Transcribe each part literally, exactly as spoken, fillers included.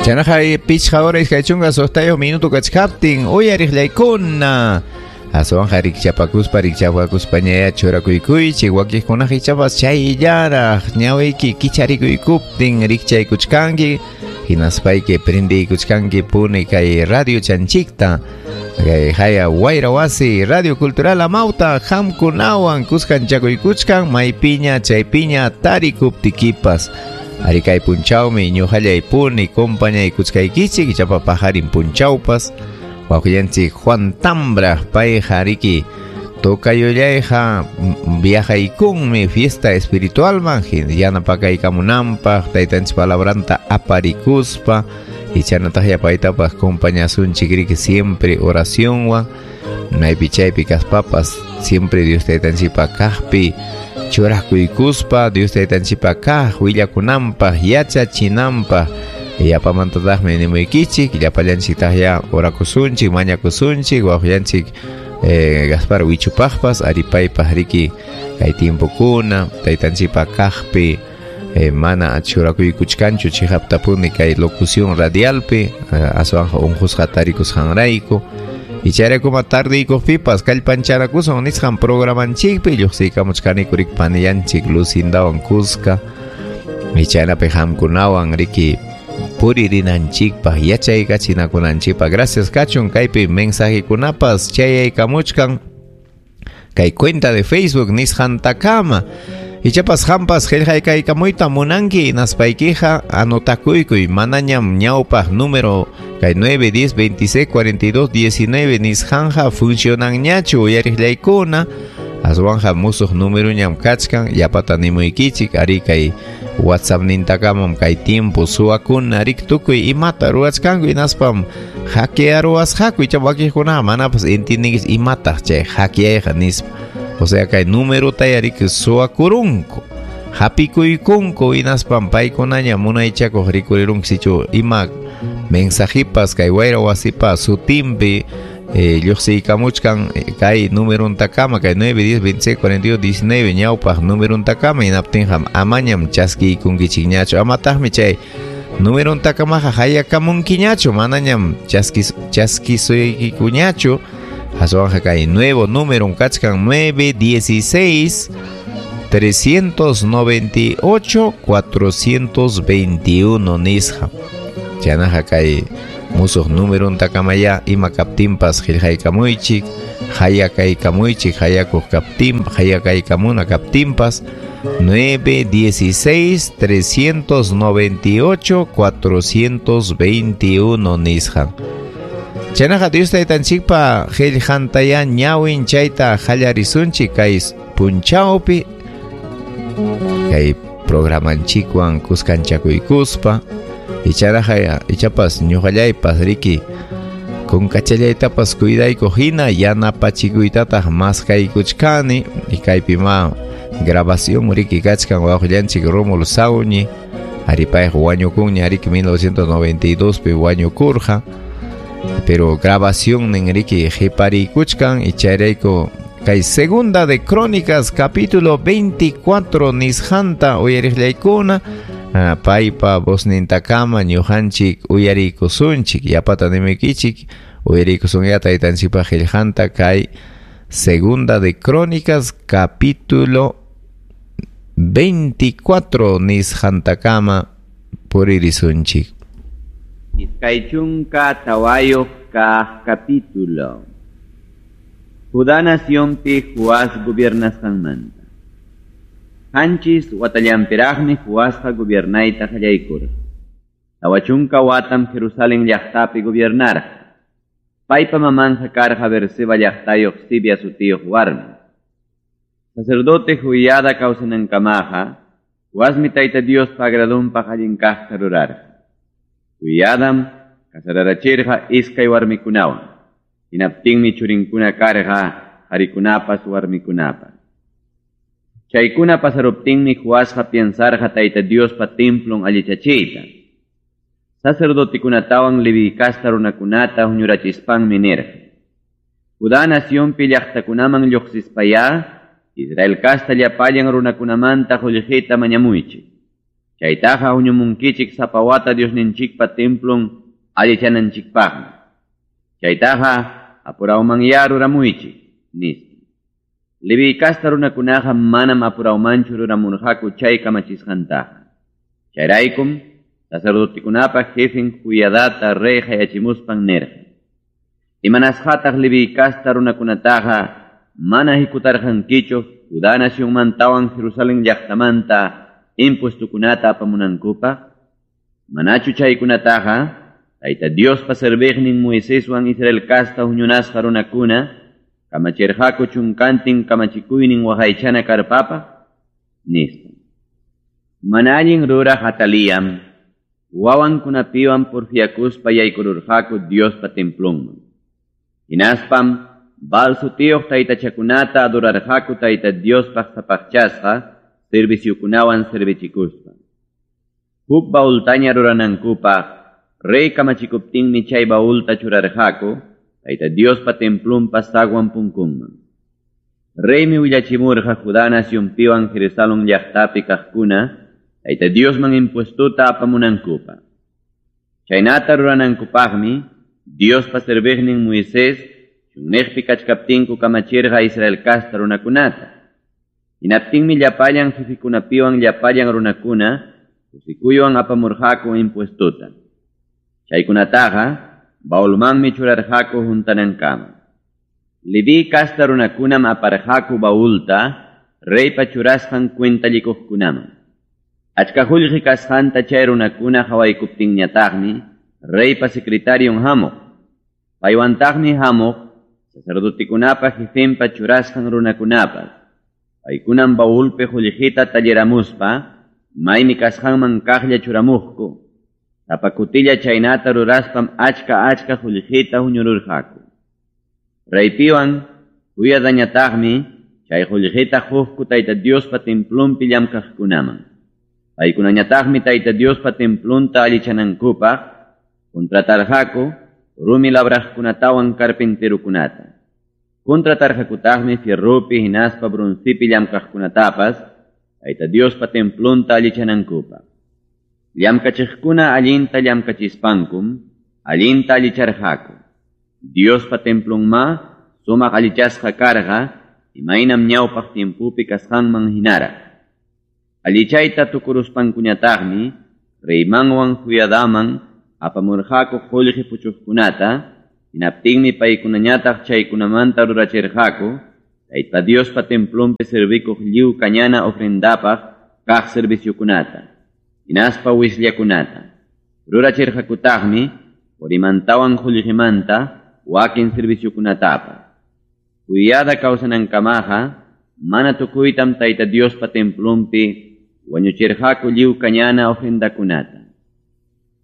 Chaynaqa pichqa hora iskay chunka suqtayuq minuto kachkaptin uyariqllaykuna. Aswanqa rikchapakuspa rikchapakuspañaya churakuykuychik wakiqkunaqa ichapas chayllaraq ñawiyki kicharikuykuptin rikchaykuchkanki hinaspayki prendiykuchkanki puni kay radio chanchikta kay haya Wayra Wasi Radio Cultural Amauta qamkunawan kuskanchakuykuchkan maypiña chaypiña tarikuptikipas. Ari kay punchawmi ñuqallay puni compañaykuchkaykichik ichapa pajarin punchawpas wawqillanchik Juan Tambra payqa riki tocayollayqa viajaykunmi fiesta espiritualman yanapakaykamunanpaq taytanchik palabranta aparikuspa ichanataqlla paytapas compañasunchik riki siempre oracionwan maypi chaypi kaspapas siempre Dios taytanchikpa kaqpi churakuykuspa Dios taytanchikpa kaq willakunanpaq yachachinanpaq yapamantataqmi nimuykichik llapallanchiktaqya orakusunchik mañakusunchik wawqillanchik eh, Gaspar Wichupaqpas aripaypaq riki kay tiempokuna taytanchikpa kaqpi eh, mana churakuykuchkanchu chiqaptapuni kay locución radialpi eh, aswanqa unqusqa tarikusqanrayku ichayraykuma tardiykuqpipas kallpanchanakusun nisqan programanchikpi lluqsiykamuchkaniku riki panillanchik Lucindawan kuska ichaynapi qamkunawan riki puririnanchikpaq yachaykachinakunanchikpaq. Gracias kachun kaypi mensajekunapas chayaykamuchkan kay cuenta de Facebook nisqantakama. Ichapas qampas qillqaykamuyta munanki hinaspaykiqa anotakuykuy manañam ñawpaq número kay nueve diez veintiséis cuarenta y dos diecinueve nisqanja funcionanñachu uyariqllaykuna aswanja musuq númeroñam kachkan yapata nimuykichik ari kay WhatsApp nintakamam kay tiempo suwakuna rik tukuy imata ruwachkanku hinaspam hackearuwasqaku icha wakiqkunaqa manapas entiendinkichu imataq chay hackeayqa nispa. O sea kay numerotaya riki suwakurunku hapikuykunku hinaspam paykunaña munaychakuq rikurirunku sichu ima mensajipas kay Wayra Wasipa sutinpi eh, lluqsiykamuchkan kay numeruntakama kay nueve diez veintiséis cuarenta y dos diecinueve ñawpaq numeruntakama hinaptinqa amañam chaskiykunkichikñachu amataqmi chay numeruntakamaqa hayakamunkiñachu manañam chaskis chaskisuykikuñachu aswanqa kay nuevo número kachkan nueve dieciséis trescientos noventa y ocho cuatrocientos veintiuno nisqa chaynaqa kay musuq numeruntakamaya ima kaptinpas qillqaykamuychik hayakaykamuychik hayakuq kaptin hayakaykamuna kaptinpas nueve dieciséis trescientos noventa y ocho cuatrocientos veintiuno nisqa. Chaynaqa Dios taytanchikpa qillqantaya ñawin chayta qallarisunchik kay punchawpi kay programanchikwan kuskanchakuykuspa icharaqa ichapas ñuqallaypas riki kunkachallaytapas cuidaykuq hina yanapachikuytataq maskaykuchkani kaypi ma grabación riki kachkan wawqillanchik Rómulo Sauñi aripayqa wañukunña riki mil novecientos noventa y dos pi wañukurqa pero grabación nin riki qhipariykuchkan ichayrayku kay segunda de Crónicas capítulo veinticuatro nisqanta uyariqllaykuna Ah, paypa voznintakama ñuqanchik uyariykusunchik yapata nimuykichik uyariykusunya taytanchikpa qillqanta kay segunda de Crónicas capítulo veinticuatro nisqantakama puririsunchik. Iskay chunka tawayuq kaq capítulo. Judá nacionpi Joás gobiernasqanmanta. Qanchis watallanpiraqmi Joasqa gobiernayta qallaykurqa. Tawa chunka watam Jerusalén llaqtapi gobiernarqa. Paypa mamanja karqa Berseba llaqtayuq Sibia sutiyuq warmi. Sacerdote Joiada kawsanankamaqa, Joasmi Tayta Diospa agradunpaq allin kaqta rurarqa. Joiadam kasararachirqa iskay warmikunawan. Hinaptinmi churinkuna karqa qarikunapas warmikunapas. Chaykuna pasaruptinmi Joasqa piensarqa Tayta Diospa templon allichachiyta. Sacerdotikunatawan Leví kasta runakunata huñurachispanmi nirqa. Judá nacionpi llaqtakunaman lluqsispayá, Israel kasta llapallan runakunamanta qullqita mañamuychik. Chaytaqa huñumunkichik sapa wata Diosninchikpa templon allichananchikpaqmi. Chaytaqa apurawmanyá ruramuychik, nispa. Leví kasta runakunaqa manam apurawmanchu ruramurqaku chay kamachisqantaqa. Chayraykum sacerdotekunapa jefen Joiadata rey hayachimuspan nirqa: Imanasqataq Leví kasta runakunataqa mana hikutarqankichu Judá nacionmantawan Jerusalén llaqtamanta impuestokunata apamunankupaq? Manachu chaykunataqa Tayta Diospa serviqnin Moiseswan Israel kasta huñunasqa runakuna kamachirqaku chunkantin kamachikuynin waqaychana karpapaq? Nispa. Mana allin ruraq Ataliyam wawankunapiwan porfiakuspa yaykururqaku Diospa templonman. Hinaspam Baal sutiyuq taytachakunata adorarqaku Tayta Diospaq sapaqchasqa serviciokunawan servichikuspa. Huk baultaña ruranankupaq rey kamachikuptinmi chay baulta churarqaku Tayta Diospa templonpa zaguan punkunman. Reymi willachimurqa Judá nacionpiwan Jerusalén llaqtapi kaqkuna Tayta Diosman impuestota apamunankupaq. Chaynata ruranankupaqmi Diospa serviqnin Moisés chunniqpi kachkaptinku kamachirqa Israel kasta runakunata. Hinaptinmi llapallan jefikunapiwan llapallan runakuna kusikuywan apamurqaku impuestota. Chaykunataqa baulmanmi churarqaku huntanankama. Leví kasta runakunam aparqaku baulta reypa churasqan cuentallikuqkunaman. Achka qullqi kasqanta chay runakuna hawaykuptinñataqmi reypa secretarion hamuq. Paywantaqmi hamuq sacerdotekunapa jefenpa churasqan runakunapas. Paykunam baulpi qullqita talliramuspa maymi kasqanman kaqlla churamuqku. Sapa kutilla chaynata ruraspam achka achka qullqita huñururqaku. Reypiwan Joiadañataqmi chay qullqita quqku Tayta Diospa templonpi llamkaqkunaman. Paykunañataqmi Tayta Diospa templonta allichanankupaq contratarqaku rumi labraqkunatawan carpinterokunata. Contratarqakutaqmi fierropi hinaspa broncepi llamkaqkunatapas Tayta Diospa templonta allichanankupaq. Llamkachiqkuna allinta llamkachispankum allinta allicharqaku. Diospa templonma sumaq allichasqa karqa imaynam ñawpaq tiempopi kasqanman hinaraq. Allichayta tukuruspankuñataqmi reymanwan Joiadaman apamurqaku qullqi puchuqkunata, hinaptinmi paykunañataq chaykunamanta rurachirqaku Tayta Diospa templonpi servikuq lliw kañana ofrendapaq kaq serviciokunata, hinaspa wisllakunata. Rurachirqakutaqmi qurimantawan qullqimanta wakin serviciokunatapas. Joiada kawsanankamaqa mana tukuytam Tayta Diospa templonpi wañuchirqaku lliw kañana ofrendakunata.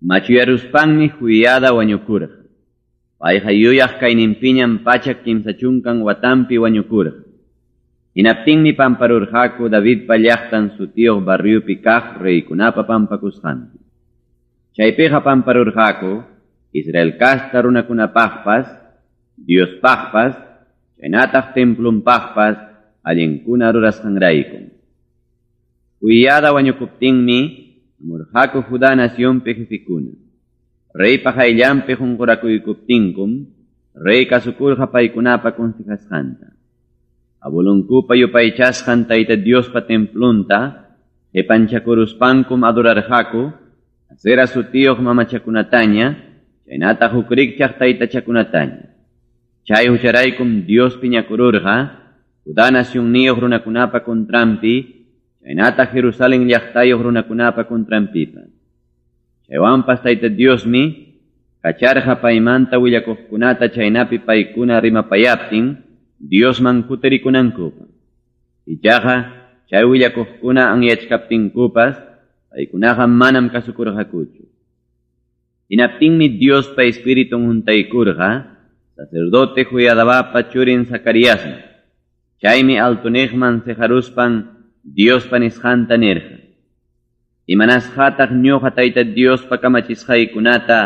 Machuyaruspanmi Joiada wañukurqa. Payqa yuyaq kayninpiñam pachak kimsa chunkan watampi wañukurqa. Hinaptinmi pamparurqaku Davidpa llaqtan sutiyuq barriopi kaq reykunapa pampakusqanpi. Chaypiqa pamparurqaku Israel kasta runakunapaqpas, Diospaqpas, chaynataq templonpaqpas allinkuna rurasqanraykum. Joiada wañukuptinmi hamurqaku Judá nacionpi jefikuna. Reypa qayllanpi qunqurakuykustinkum rey kasukurqa paykunapa consejasqanta. Abuelonkupa yupaychasqan Tayta Diospa templonta qipanchakuruspankum adorarqaku Asera sutiyuq mamachakunataña chaynataq huk rikchaq taytachakunataña. Chay hucharaykum Dios piñakururqa Judá nacionniyuq runakunapa contranpi chaynataq Jerusalén llaqtayuq runakunapa contranpipas. Chaywanpas Tayta Diosmi kacharqa paymanta willakuqkunata chaynapi paykuna rimapayaptin Diosman kutirikunankupaq. Ichaqa chay willakuqkuna anyachkaptinkupas paykunaqa manam kasukurqakuchu. Hinaptinmi Diospa Espiritun huntaykurqa sacerdote Joiadabapa churin Zacariasman. Chaymi altuniqman siqaruspan Diospa nisqanta nirqa: Imanasqataq ñuqa Tayta Diospa kamachisqaykunata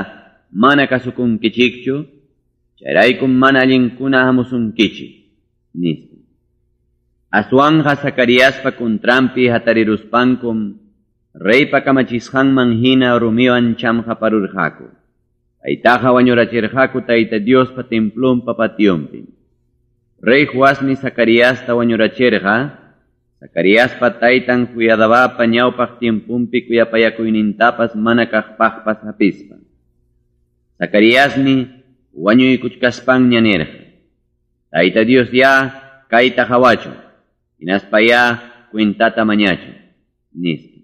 mana kasukunkichikchu? Chayraykum mana allinkuna hamusunkichik, nispa. Aswanqa Zacariaspa contranpi hatariruspankum reypa kamachisqanman hina rumiwan chamqaparurqaku. Paytaqa wañurachirqaku Tayta Diospa templonpa pationpi. Rey Joasmi Zacariasta wañurachirqa, Zacariaspa taytan Joiadabapa ñawpaq tiemponpi kuyapayakuynintapas mana kaqpaqpas hapispa. Zacariasmi wañuykuchkaspanña nirqa: Tayta Dios ya kayta qawachun, hinaspa ya cuentata mañachun, nispa.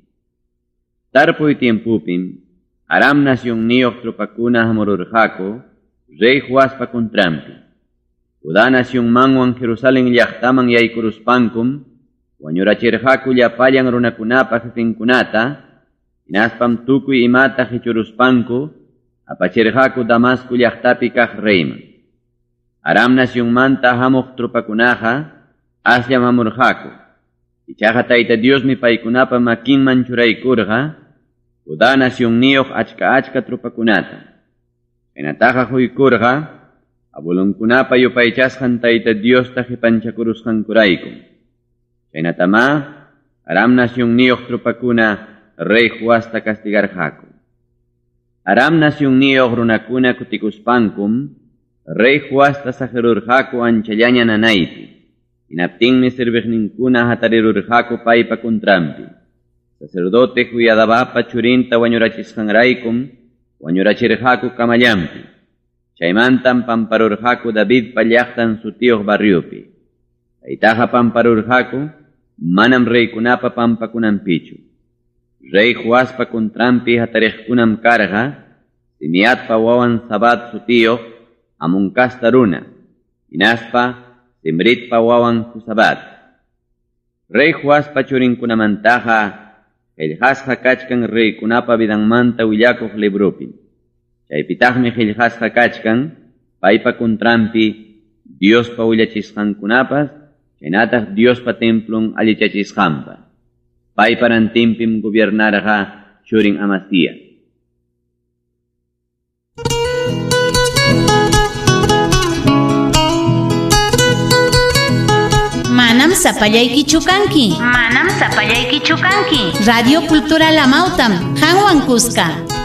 Tarpuy tiempupim Aram nacionniyuq tropakuna hamururqaku rey Joaspa contranpi. Judá nacionmanwan Jerusalén llaqtaman yaykuruspankum wañurachirqaku llapallan runakunapa jefenkunata, hinaspam tukuy imata qichuruspanku apachirqaku Damasco llaqtapi kaq reyman. Aram nacionmanta hamuq tropakunaqa asllam hamurqaku. Ichaqa Tayta Diosmi paykunapa makinman churaykurqa Judá nacionniyuq achka achka tropakunata. Chaynataqa quykurqa abuelonkunapa yupaychasqan Tayta Diosta qipanchakurusqankurayku. Chaynatamá Aram nacionniyuq tropakuna rey Joasta castigarqaku. Aram nacionniyuq runakuna kutikuspankum rey Joasta saqirurqaku anchallaña nanaypi. Hinaptinmi serviqninkuna hatarirurqaku paypa contranpi. Sacerdote Joiadabapa churinta wañurachisqanraykum wañurachirqaku kamallanpi. Chaymantam pamparurqaku Davidpa llaqtan sutiyuq barriopi. Paytaqa pamparurqaku manam reykunapa pampakunanpichu. Rey Joaspa contranpi hatariqkunam karqa Simiatpa wawan Zabad sutiyuq Amoncasta runa, hinaspa Simritpa wawan Josabad. Rey Joaspa churinkunamantaqa qillqasqa kachkan reykunapa vidanmanta willakuq librupi. Chaypitaqmi qillqasqa kachkan paypa contranpi Diospa willachisqankunapas, chaynataq Diospa templon allichachisqanpas. Paypa rantinpim gobiernarqa churin Amasías. Manam sapallaykichu kanki. Manam sapallaykichu kanki. Radio Cultural Amautam, Hanwan Cusca.